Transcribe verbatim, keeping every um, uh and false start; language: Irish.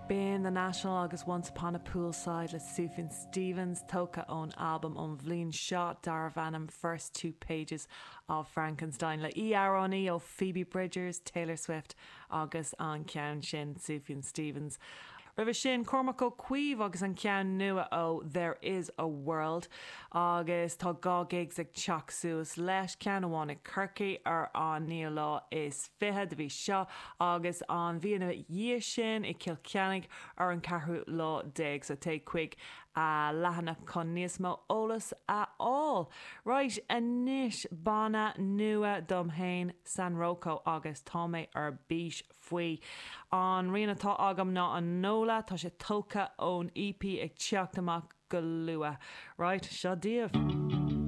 B'in The National agus Once Upon a Poolside le Sufjan Stevens tógtha ón albam ón bhliain seo darbh ainm First Two Pages of Frankenstein le amhránaí ó Phoebe Bridgers, Taylor Swift agus an ceann sin Sufjan Stevens. Roimhe sin Cormac Ó Caoimh agus an ceann nua ó There is a World agus tá dhá gigs ag teacht suas leis ceann amháin i gCorcaigh ar an naoú lá is fiche de mhí seo agus an mhí ina dhiaidh sin i Cill Chainnigh ar an ceathrú lá déag so téigh chuig a leathanach chun níos mó eolas a fháil. Right anois banna nua dom féin San Rocco agus tá mé ar bís faoi. An rian atá agam ná an Nola tá sé tógtha ón EP ag teacht amach go luath. Right, seo daoibh.